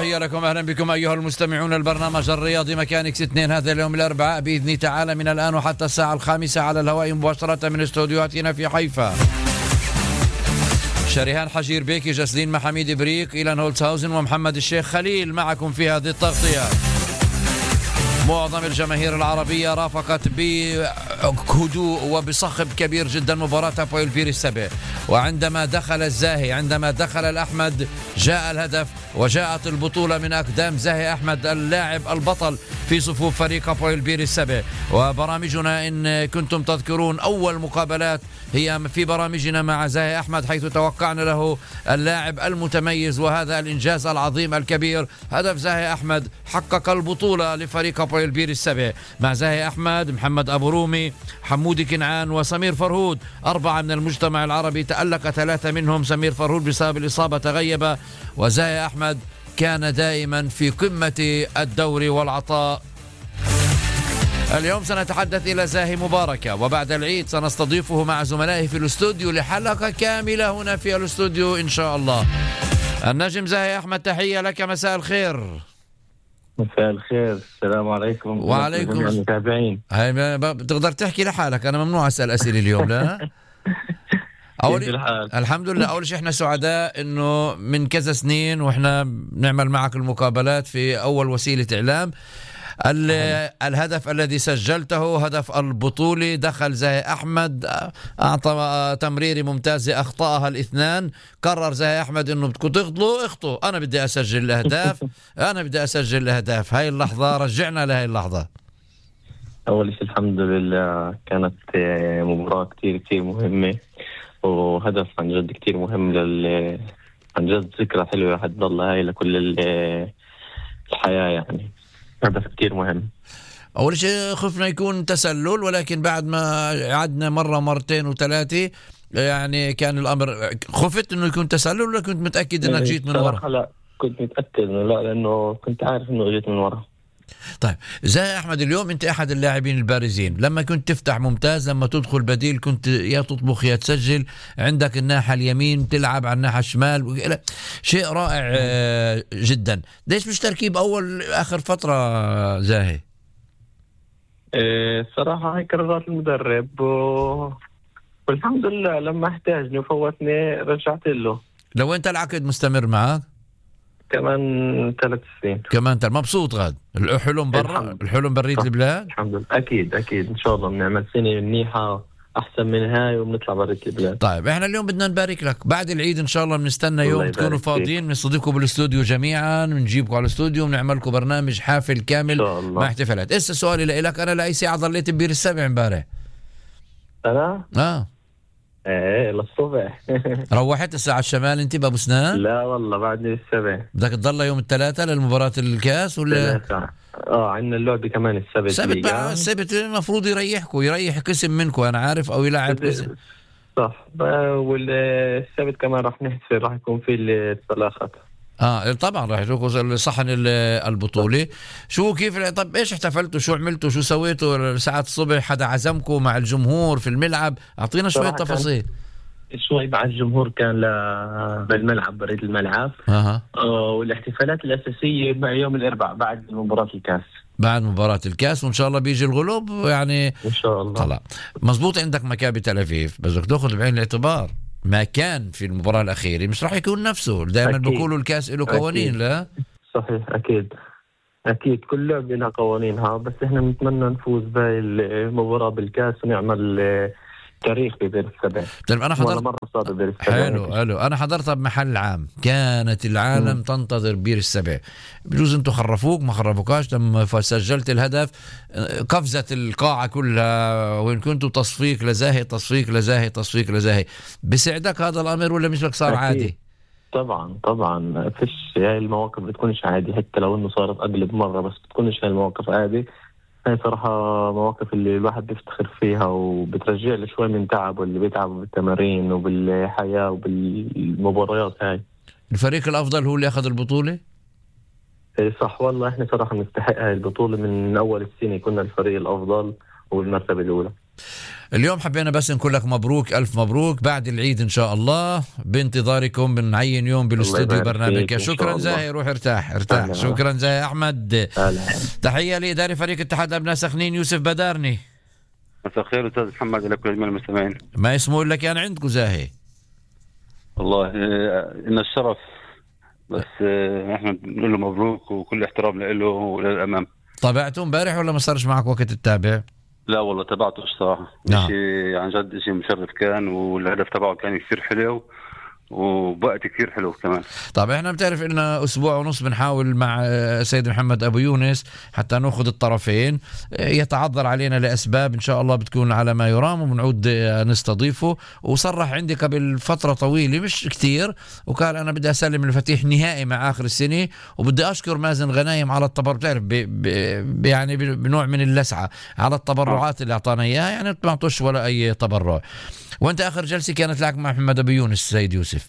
تحية لكم، أهلا بكم أيها المستمعون. البرنامج الرياضي ميكانيكس 2 هذا اليوم الأربعاء بإذن تعالى من الآن وحتى الساعة 5 على الهواء مباشرة من استوديوهاتنا في حيفا. شريهان حجير بيكي، جسلين محميد بريك، إيلان هولتسهاوزن ومحمد الشيخ خليل معكم في هذه التغطية. معظم الجماهير العربية رافقت بهدوء وبصخب كبير جدا مباراة هابويل بيرسبي، وعندما دخل الزاهي، عندما دخل الأحمد، جاء الهدف وجاءت البطولة من أقدام زاهي أحمد اللاعب البطل في صفوف فريق هابويل بيرسبي. وبرامجنا إن كنتم تذكرون أول مقابلات هي في برامجنا مع زاهي أحمد، حيث توقعنا له اللاعب المتميز وهذا الإنجاز العظيم الكبير. هدف زاهي أحمد حقق البطولة لفريق هابويل بيرسبي مع زاهي أحمد، محمد أبو رومي، حمودي كنعان وسمير فرهود. 4 من المجتمع العربي تألق، 3 منهم سمير فرهود بسبب الإصابة تغيب، وزاهي أحمد كان دائما في قمة الدور والعطاء. اليوم سنتحدث إلى زاهي مباركة، وبعد العيد سنستضيفه مع زملائه في الاستوديو لحلقة كاملة هنا في الاستوديو إن شاء الله. النجم زاهي أحمد، تحية لك، مساء الخير. مساء الخير، السلام عليكم. وعليكم المتابعين. بتقدر تحكي لحالك، أنا ممنوع أسأل أسئلة اليوم. لا الحمد لله. أول شيء احنا سعداء إنه من كذا سنين وإحنا بنعمل معك المقابلات في أول وسيلة إعلام. الهدف الذي سجلته هدف البطولة، دخل زاهي أحمد، أعطى تمريرة ممتازة أخطأها الاثنان. قرر زاهي أحمد إنه بدكم اخطوا، أنا بدي أسجل الأهداف. أنا بدي أسجل الأهداف. هاي اللحظة رجعنا لهاي اللحظة. أول شيء الحمد لله، كانت مباراة كتير مهمة، وهدف عن جد كتير مهم عن جد ذكرى حلوة حتضل هاي لكل الحياة. يعني هدف كتير مهم. أول شيء خفنا يكون تسلل، ولكن بعد ما عدنا مرة مرتين وثلاثة يعني كان الأمر. خفت إنه يكون تسلل ولا كنت متأكد إنك جيت من ورا؟ لا، كنت متأكد إنه لا، لأنه كنت عارف إنه جيت من ورا. طيب زاهي أحمد، اليوم أنت أحد اللاعبين البارزين. لما كنت تفتح ممتاز، لما تدخل بديل كنت يا تطبخ يا تسجل. عندك الناحية اليمين، تلعب على الناحية الشمال، شيء رائع جدا. ليش مش تركيب أول آخر فترة زاهي؟ الصراحة هاي قرارات المدرب، والحمد لله لما احتاجني وفوتني رجعت له. لو أنت العقد مستمر معك كمان 3 سنين. كمان مبسوط غاد؟ الحلم برا، الحلم برية البلاد. الحمد لله، أكيد إن شاء الله بنعمل سنة منيحة أحسن من هاي وبنطلع برية البلاد. طيب احنا اليوم بدنا نبارك لك. بعد العيد إن شاء الله بنستنى يوم تكونوا فاضيين، بنستضيفكم بالاستوديو جميعا، بنجيبكم على الاستوديو ونعمل لكم برنامج حافل كامل مع احتفالات. إسا سؤالي لك، أنا لأي ساعة ضليت ببيرسبي امبارح؟ أنا؟ ايه للصبح. روحت الساعة الشمال انت بابو سنان؟ لا والله بعدني السبع. بدك تضل يوم الثلاثاء للمباراة الكاس ولا؟ عندنا اللعبة كمان السبت المفروض يريح قسم منكم، انا عارف، او يلعب قسم. صح، والسبت كمان راح نحتفل، راح يكون في الصلاخات. طبعا راح يكون صحن البطولة. شو كيف؟ طب ايش احتفلتوا؟ شو عملتوا؟ شو سويتوا ساعات الصبح؟ حدا عزمكم مع الجمهور في الملعب؟ اعطينا شوية تفاصيل. شوي مع الجمهور كان بالملعب، بريد الملعب. والاحتفالات الأساسية مع يوم الأربعاء بعد مباراة الكاس. بعد مباراة الكاس، وإن شاء الله بيجي الغلوب يعني إن شاء الله. طلع مزبوط. عندك مكابي تل أبيب، بس بدك تأخذ بعين الاعتبار ما كان في المباراة الأخيرة مش راح يكون نفسه. دائما بيقولوا الكاس له قوانين. لا صحيح، أكيد كل لعبة لها قوانينها، بس إحنا نتمنى نفوز بهاي المباراة بالكاس ونعمل تاريخ ببيرسبي. طيب أنا حضرت حلو أنا حضرتها بمحل عام، كانت العالم تنتظر بيرسبي. بجوز أنتوا خرفوك ما خرفوكاش لما سجلت الهدف، قفزت القاعة كلها، وإن كنتوا تصفيق لزاهي. بسعدك هذا الأمر ولا مثلك صار عادي؟ طبعا فيش هاي المواقف بتكونش عادي، حتى لو إنه صارت أقلب مرة، بس بتكونش هاي المواقف عادي. هاي صراحة مواقف اللي الواحد بيفتخر فيها وبترجع له شوي من تعبه اللي بيتعبه بالتمارين وبالحياة وبالمباريات. هاي الفريق الأفضل هو اللي أخذ البطولة؟ صح والله، احنا صراحة نستحق هاي البطولة من أول السنة، كنا الفريق الأفضل والمرتبة الأولى. اليوم حبينا بس نقول لك مبروك، ألف مبروك بعد العيد إن شاء الله، بانتظاركم بنعين يوم بالاستوديو برنامج. شكرا زاهي، روح ارتاح. شكرا زاهي أحمد. تحية لإداري فريق اتحاد أبناء سخنين يوسف بدارني. مساء الخير أستاذ محمد لكل أجمل المستمعين. ما اسمه لك يعني عندكم زاهي؟ والله إن الشرف، بس احنا بنقول له مبروك وكل احترام له وللأمام. طبعته امبارح ولا ما صارش معك وقت تتابع؟ لا والله تابعته الصراحة. شيء عن جد شيء مشرف كان، والهدف تبعه كان كثير حلو ووقت كثير حلو كمان. طب احنا بتعرف إلنا أسبوع ونص بنحاول مع سيد محمد أبو يونس حتى نأخذ الطرفين، يتعذر علينا لأسباب إن شاء الله بتكون على ما يرام، وبنعود نستضيفه. وصرح عندي قبل فترة طويلة مش كتير، وقال أنا بدي أسلم المفاتيح نهائي مع آخر السنة، وبدي أشكر مازن غنايم على التبرع. بتعرف يعني بنوع من اللسعة على التبرعات اللي أعطانا إياها، يعني ما أعطوش ولا أي تبرع. وأنت آخر جلسة كانت لك مع محمد أبو يونس سيد يوسف؟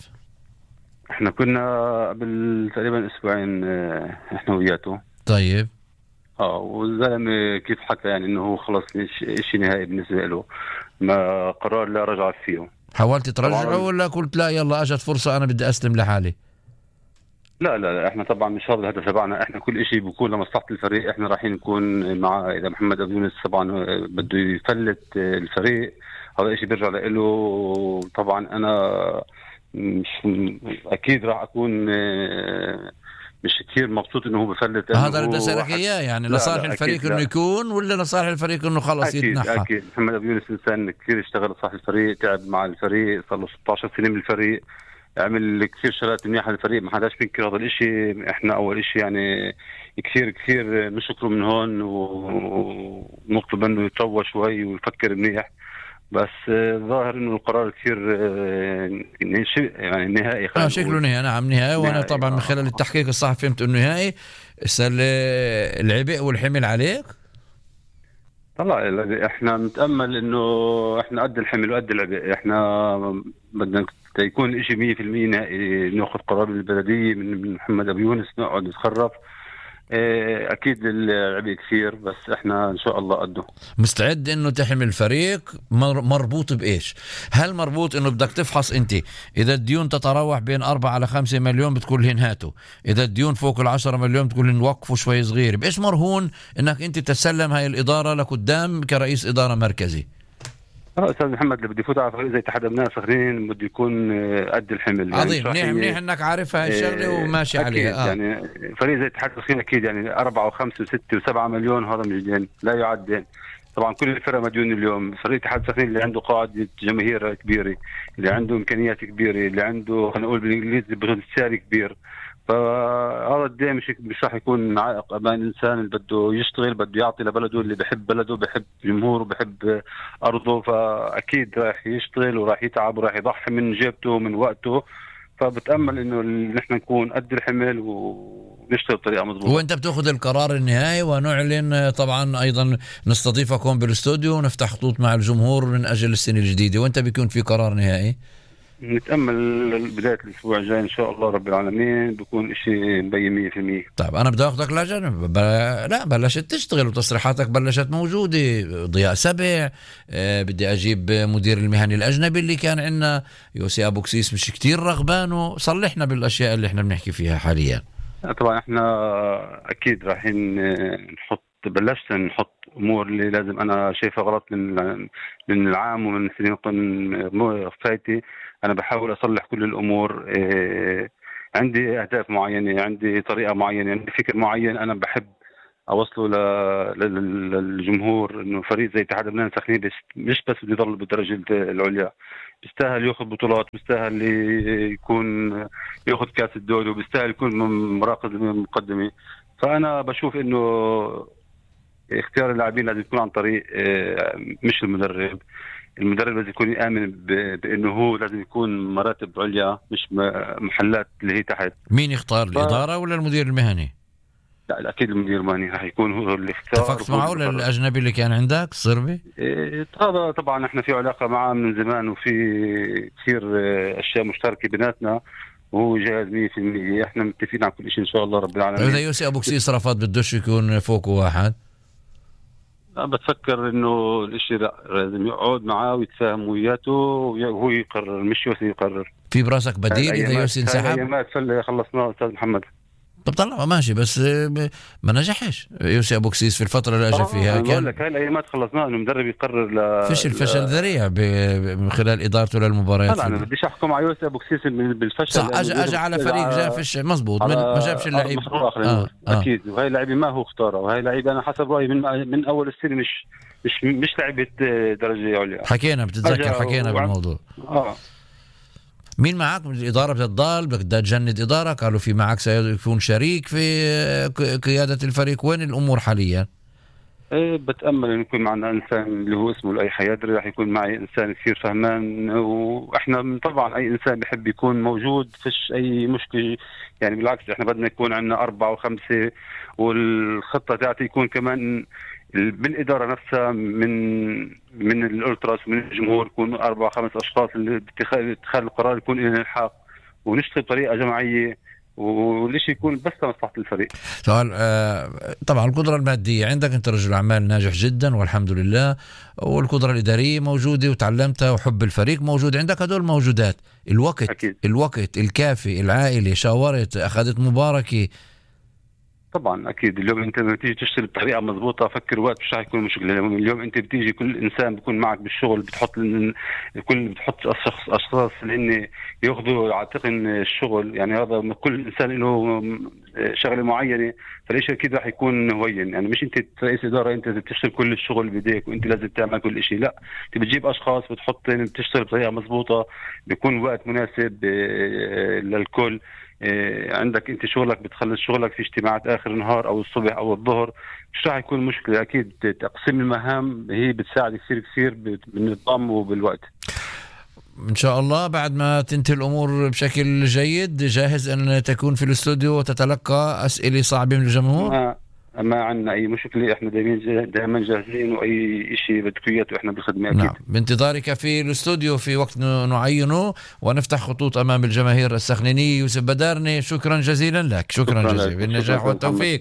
احنا كنا قبل تقريبا اسبوعين احنا وياته. طيب. والزلمه كيف حكى يعني انه هو خلص شيء نهائي بالنسبه له، ما قرار لا رجع فيه. حاولت ترجعه ولا قلت لا يلا اجت فرصه انا بدي اسلم لحالي؟ لا احنا طبعا مش هذا الهدف تبعنا، احنا كل شيء بيكون لمصلحه الفريق. احنا رايحين نكون مع اذا محمد ابو يونس طبعا بده يفلت الفريق، هذا شيء بيرجع له. طبعا انا مش اكيد راح اكون مش كثير مبسوط انه هو بفلت. هذا اللي بدي اسالك اياه، يعني لصالح الفريق انه يكون ولا لصالح الفريق انه خلص يتنحى؟ اكيد محمد ابو يونس انسان كثير اشتغل لصالح الفريق، تعب مع الفريق، صار له 16 سنه بالفريق، عمل كثير شغلات منيحه للفريق، ما حداش بينكر هذا الشيء. احنا اول شيء يعني كثير نشكره من هون، ونطلب منه يتروى شوي ويفكر منيح. بس ظاهر انه القرار كثير يعني نهائي. شكله نهائي. نعم نهائي. وانا طبعا من خلال التحقيق الصحفي فهمت انه نهائي. العبء والحمل عليك؟ طلع احنا نتامل انه احنا قد الحمل وقد العبء. احنا بدنا يكون الشيء 100% نهائي، ناخذ قرار من البلديه من محمد ابو يونس، نقعد نتخرف. اكيد العبء كثير، بس احنا ان شاء الله قده. مستعد انه تحمل الفريق. مربوط بايش؟ هل مربوط انه بدك تفحص انت اذا الديون تتراوح بين 4 إلى 5 مليون بتقول لهم هاتوا، اذا الديون فوق 10 مليون بتقول لهم وقفوا شوي صغير؟ بايش مرهون انك انت تسلم هاي الاداره لقدام كرئيس اداره مركزي؟ استاذ محمد اللي بده يفوت على فريق زي اتحاد ابناء سخنين بده يكون قد الحمل. عظيم. يعني منيح انك عارف هاي الشغله وماشي عليها. يعني فريق زي اتحاد سخنين اكيد يعني 4 و5 و6 و7 مليون هذا مش دين، لا يعد دين. طبعا كل الفرق مديون اليوم. فريق اتحاد سخنين اللي عنده قاعده جماهير كبيره، اللي عنده امكانيات كبيره، اللي عنده خلينا نقول بالانجليزي بوتنسيال كبير، فهذا الدين مش راح يكون عائق امام الانسان اللي بده يشتغل، بده يعطي لبلده، اللي بحب بلده، بحب جمهوره، بحب ارضه، فاكيد راح يشتغل وراح يتعب وراح يضحي من جيبته ومن وقته. فبتامل انه نحن نكون قد الحمل ونشتغل بطريقه مضبوطه. وانت بتاخذ القرار النهائي، ونعلن طبعا ايضا نستضيفكم بالاستوديو ونفتح خطوط مع الجمهور من اجل السنه الجديده، وانت بيكون في قرار نهائي. نتأمل بداية الأسبوع الجاي إن شاء الله رب العالمين بيكون إشي مبين 100%. طيب أنا بدي أخذك لجنب. لا بلشت تشتغل وتصريحاتك بلشت موجودة. ضياء سبع، بدي أجيب مدير المهني الأجنبي اللي كان عندنا يوسي أبو كسيس مش كتير رغبانه. صلحنا بالأشياء اللي احنا بنحكي فيها حاليا. طبعا احنا أكيد رايحين بلشت نحط امور اللي لازم انا شايفها غلط من العام ومن سنين فايتي. انا بحاول اصلح كل الامور. عندي اهداف معينه، عندي طريقه معينه، عندي فكر معين انا بحب اوصله للجمهور، انه فريق زي اتحاد ابناء سخنين مش بس بده يضل بالدرجه العليا، بيستاهل ياخذ بطولات، بيستاهل يكون ياخذ كاس الدوري، وبيستاهل يكون مراكز مقدمه. فانا بشوف انه اختيار اللاعبين لازم يكون عن طريق مش المدرب لازم يكون يآمن بانه هو لازم يكون مراتب عليا مش محلات اللي هي تحت. مين يختار الاداره ولا المدير المهني؟ لا اكيد المدير المهني راح يكون هو اللي اختار. اتفقت معه ولا الاجنبي اللي كان عندك الصربي؟ هذا طبعا احنا في علاقه معه من زمان، وفي كثير اشياء مشتركه بيناتنا، وهو جاهز 100%. احنا متفقين على كل شيء ان شاء الله رب العالمين. اذا يوسي ابو كسيس رفض بدوش يكون فوق واحد؟ بتفكر انه الاشي لا، لازم يقعد معاه ويتفاهم وياته وهو يقرر، مش يوسي يقرر. في براسك بديل اذا يوسي انسحب؟ الايامات خلصناه استاذ محمد. طب طلع ماشي، بس ما نجحش يوسي ابو كسيس في الفتره اللي اجى فيها. انا بقول لك هاي الايامات خلصناه، انه مدرب يقرر فشل ذريع من خلال ادارته للمباريات. طبعا انا بديش احكم على يوسي ابو كسيس بالفشل، صح. اجى على فريق جاء فشل مزبوط، ما جابش اللعيب. اكيد. وهي لعيبه ما هو اختارها، وهي لعيبه انا حسب رايي من اول السنه مش لعيبه درجه عليا. حكينا بالموضوع. مين معك من الإدارة؟ بتضل بدها تجند إدارة؟ قالوا في معك سيكون شريك في قيادة الفريق. وين الأمور حاليا؟ بتأمل أن يكون معنا إنسان اللي هو اسمه الأي حيادري، راح يكون معي إنسان كثير فهمان، وإحنا طبعا أي إنسان بيحب يكون موجود، فيش أي مشكلة يعني. بالعكس إحنا بدنا يكون عندنا 4 و5، والخطة تاعتي يكون كمان بالإدارة نفسها من الألتراس ومن الجمهور، يكون 4-5 أشخاص اللي باتخاذ القرار يكون لنا الحق، ونشتغل بطريقة جماعية، وليش يكون بس لمصلحة الفريق. سؤال طبعا القدرة المادية عندك، أنت رجل أعمال ناجح جدا والحمد لله، والقدرة الإدارية موجودة وتعلمتها، وحب الفريق موجود عندك، هدول موجودات. الوقت الكافي، العائلة، شاورت، أخذت مباركة. طبعا اكيد. اليوم انت لما تيجي تشتغل بطريقه مضبوطه، فكر وقت مش راح يكون مشكله. اليوم انت بتيجي كل انسان بيكون معك بالشغل، بتحط اشخاص اللي ياخذوا عاتقن الشغل، يعني هذا كل انسان له شغله معينه، فليش اكيد راح يكون هوين. يعني مش انت رئيس اداره انت بتشتغل كل الشغل بيديك وانت لازم تعمل كل شيء، لا، انت بتجيب اشخاص بتشتغل بطريقه مضبوطه، بيكون وقت مناسب للكل. عندك انت شغلك، بتخلص شغلك في اجتماعات اخر النهار او الصبح او الظهر، مش راح يكون مشكله. اكيد تقسيم المهام هي بتساعد كثير بالنظام وبالوقت. ان شاء الله بعد ما تنتهي الامور بشكل جيد جاهز ان تكون في الاستوديو وتتلقى اسئله صعبه من الجمهور. ما عندنا اي مشكله، احنا دائما جاهزين، واي شيء بدك اياه احنا بالخدمه اكيد. نعم. بانتظارك في الاستوديو في وقت نعينه ونفتح خطوط امام الجماهير السخنينيه. يوسف بدارني، شكرا جزيلا لك. شكرا جزيلا بالنجاح والتوفيق.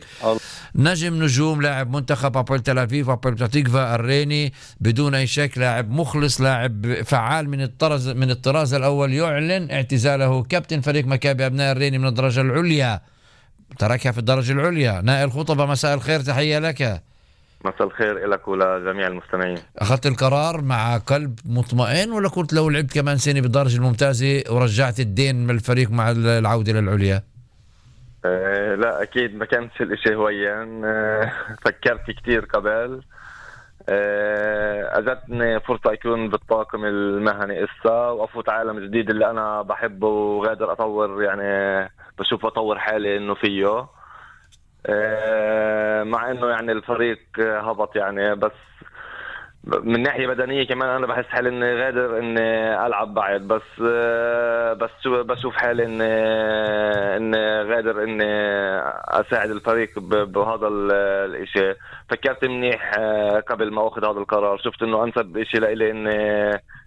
نجم نجوم، لاعب منتخب أبول تل أبيب، أبول بتاتيكفا الريني، بدون اي شك لاعب مخلص، لاعب فعال من الطراز الاول، يعلن اعتزاله. كابتن فريق مكابي ابناء الريني من الدرجه العليا، تركها في الدرجة العليا. نائل خطبة، مساء الخير، تحية لك. مساء الخير لك ولجميع المستمعين. أخذت القرار مع قلب مطمئن، ولا قلت لو لعبت كمان سنة بالدرجة الممتازة ورجعت الدين من الفريق مع العودة للعليا؟ لا أكيد ما كانش الاشي هويا. فكرت كتير قبل. أجتني فرصة أكون بالطاقم المهني وأفوت عالم جديد اللي أنا بحبه وقادر أطور، يعني بشوف أطور حالي إنه فيه. مع إنه يعني الفريق هبط يعني، بس من ناحية بدنية كمان أنا بحس حالي إني قادر إني ألعب بعد، بس بشوف حالي إني قادر إني أساعد الفريق بهذا الإشي. فكرت منيح قبل ما أخذ هذا القرار، شفت إنه أنسب إشي لإلي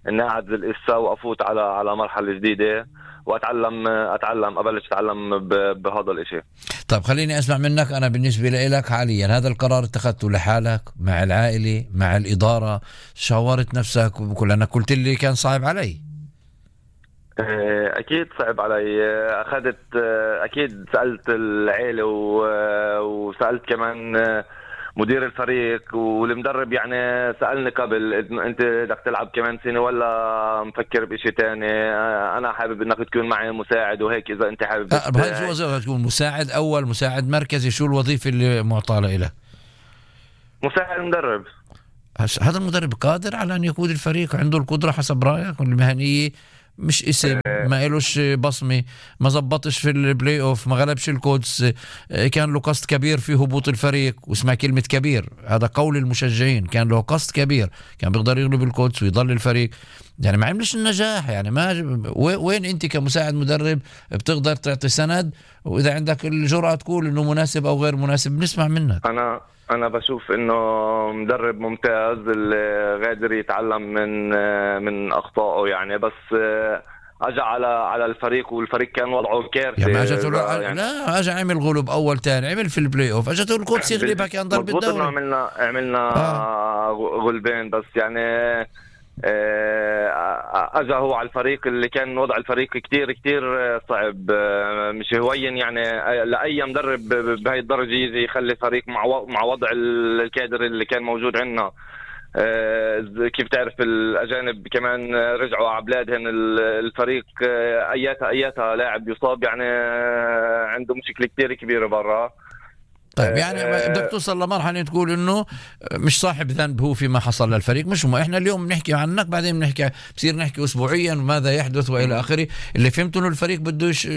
إني أعدل الإسا وأفوت على مرحلة جديدة وأتعلم أبلش أتعلم بهذا الإشي. طيب خليني أسمع منك. أنا بالنسبة لك حاليا هذا القرار اتخذته لحالك مع العائلة مع الإدارة؟ شاورت نفسك؟ لأنك قلت لي كان صعب علي. أكيد صعب علي. أكيد سألت العائلة وسألت كمان مدير الفريق والمدرب. يعني سألني قبل انت بدك تلعب كمان سنة ولا مفكر بشي تاني؟ انا حابب انك تكون معي مساعد وهيك، اذا انت حابب. بهاي شو وظيفة تكون؟ مساعد اول، مساعد مركزي؟ شو الوظيفة اللي معطاة له؟ مساعد مدرب. هذا المدرب قادر على ان يقود الفريق؟ عنده القدرة حسب رأيك؟ المهنية مش اسم، ما إلوش بصمة، ما زبطش في البلاي اوف، ما غلبش القدس، كان له قصد كبير في هبوط الفريق. واسمع كلمة كبير، هذا قول المشجعين، كان له قصد كبير، كان بيقدر يغلب القدس ويضل الفريق. يعني ما عملش النجاح. يعني ما وين انت كمساعد مدرب بتقدر تعطي سند، واذا عندك الجرأة تقول انه مناسب او غير مناسب بنسمع منك. أنا بشوف إنه مدرب ممتاز اللي قادر يتعلم من أخطائه يعني. بس اجى على الفريق، والفريق كان وضعه كارثي. يعني اجته لا اجى عمل غلب اول ثاني، عمل في البلاي اوف، اجته القدس يغلبها كان ضرب الدوري. عملنا غلبين، بس يعني اجى هو على الفريق اللي كان وضع الفريق كتير صعب، مش هوين يعني لاي مدرب بهاي الدرجه يجي يخلي فريق مع وضع الكادر اللي كان موجود عندنا. كيف تعرف الأجانب كمان رجعوا على بلادهم، الفريق أياتها لاعب يصاب، يعني عنده مشكلة كتير كبيرة برا. طيب يعني بدك توصل لمرحلة تقول إنه مش صاحب ذنب هو فيما حصل للفريق، مش إحنا اليوم بنحكي عنك، بعدين بصير نحكي أسبوعيا ماذا يحدث وإلى آخره. اللي فهمته إنه الفريق بدوش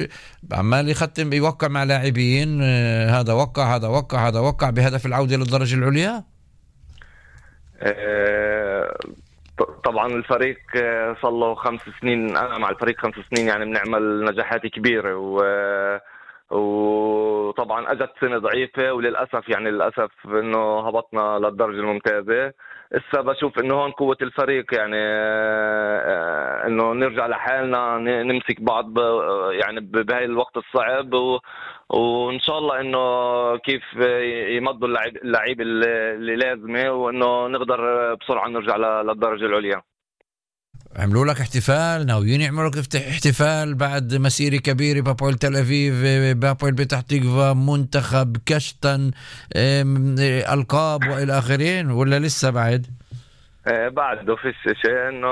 عمال يختم يوقع مع لاعبين، هذا وقع بهدف العودة للدرجة العليا. طبعا الفريق صار له 5 سنين، انا مع الفريق 5 سنين، يعني بنعمل نجاحات كبيره، وطبعا اجت سنه ضعيفه، وللاسف يعني للاسف انه هبطنا للدرجه الممتازه. هسه بشوف انه هون قوه الفريق، يعني انه نرجع لحالنا، نمسك بعض يعني بهاي الوقت الصعب، وان شاء الله انه كيف يمضوا اللعيب اللي لازمه، وانه نقدر بسرعه نرجع للدرجه العليا. عملوا لك احتفال، ناويين يعملوا لك احتفال بعد مسيرة كبيرة، بابويل تل أبيب، بابويل بتح تقفا، منتخب، كشتن، ألقاب وإلى آخرين، ولا لسه بعد؟ بعده فيش شيء، انه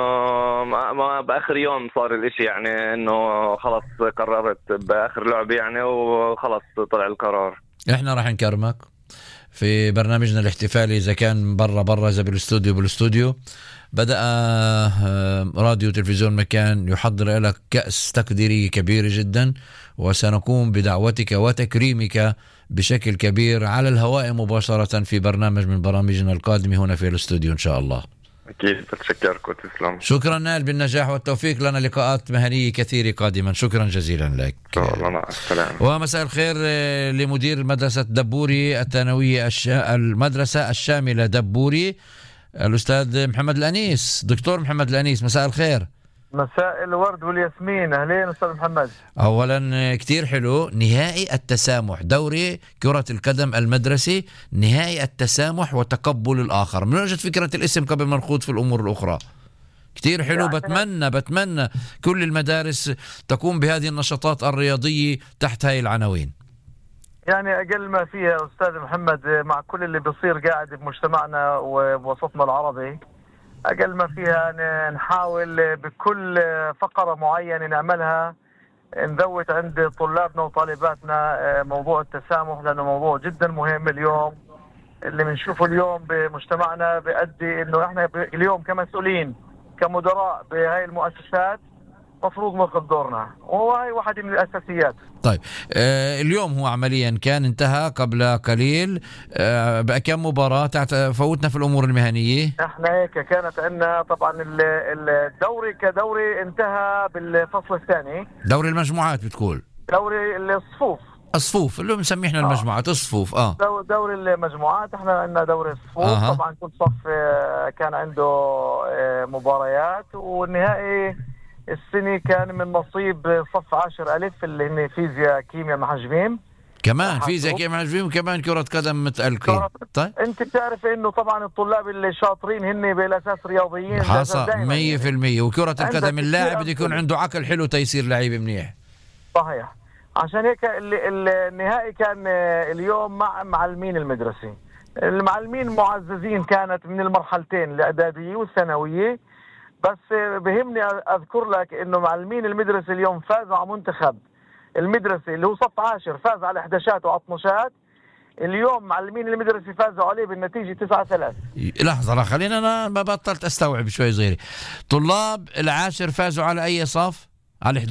ما باخر يوم صار الاشي، يعني انه خلص قررت باخر لعبة يعني، وخلص طلع القرار. احنا راح نكرمك في برنامجنا الاحتفالي، اذا كان برا اذا بالاستوديو بدأ راديو تلفزيون مكان يحضر لك كأس تقديرية كبيرة جدا، وسنقوم بدعوتك وتكريمك بشكل كبير على الهواء مباشرة في برنامج من برامجنا القادمة هنا في الاستوديو إن شاء الله. أكيد، بتشكركم، تسلم. شكرا نائل، بالنجاح والتوفيق، لنا لقاءات مهنية كثيرة قادما. شكرا جزيلا لك. مع السلامة. ومساء الخير لمدير مدرسة دبوري الثانوية المدرسة الشاملة دبوري، الأستاذ محمد الأنيس. دكتور محمد الأنيس، مساء الخير. مساء الورد والياسمين، أهلين أستاذ محمد. أولا كتير حلو نهائي التسامح، دوري كرة القدم المدرسي، نهائي التسامح وتقبل الآخر. من وجد فكرة الاسم قبل ما نخوض في الأمور الأخرى؟ كتير حلو. بتمنى كل المدارس تقوم بهذه النشاطات الرياضية تحت هاي العناوين. يعني أقل ما فيها أستاذ محمد، مع كل اللي بيصير قاعد بمجتمعنا ووسطنا العربي، أقل ما فيها نحاول بكل فقرة معينة نعملها نذوت عند طلابنا وطالباتنا موضوع التسامح، لأنه موضوع جدا مهم اليوم اللي بنشوفه اليوم بمجتمعنا، بيؤدي إنه إحنا اليوم كمسؤولين كمدراء بهاي المؤسسات مفروض ناخذ دورنا، وهي واحدة من الأساسيات. طيب اليوم هو عمليا كان انتهى قبل قليل بكم مباراة فوتنا في الأمور المهنية. احنا هيك كانت عندنا طبعا الدوري كدوري انتهى بالفصل الثاني، دوري المجموعات بتقول، دوري الصفوف اللي بنسميه احنا المجموعات، الصفوف. دوري المجموعات، احنا عندنا دوري الصفوف. طبعا كل صف كان عنده مباريات، والنهائي السنة كان من نصيب صف 10 ألف اللي هن فيزياء كيمياء محجبين، كمان فيزياء كيمياء محجبين، وكمان كرة قدم متألقين. طيب انت بتعرف انه طبعا الطلاب اللي شاطرين هن بالاساس رياضيين، حصل 100%. وكرة القدم اللاعب بده يكون عنده عقل حلو تيصير لعيب منيح. صحيح. عشان هيك النهائي كان اليوم مع معلمين المدرسة. المعلمين معززين كانت من المرحلتين الإعدادية والثانوية، بس بهمني أذكر لك إنه معلمين المدرسة اليوم فازوا على منتخب المدرسة اللي هو صف 10، فاز على 11 وعطنشات. اليوم معلمين المدرسة فازوا عليه بالنتيجة 9-3. لحظة، خلينا أنا ما بطلت أستوعب شوي صغيري. طلاب 10 فازوا على أي صف؟ على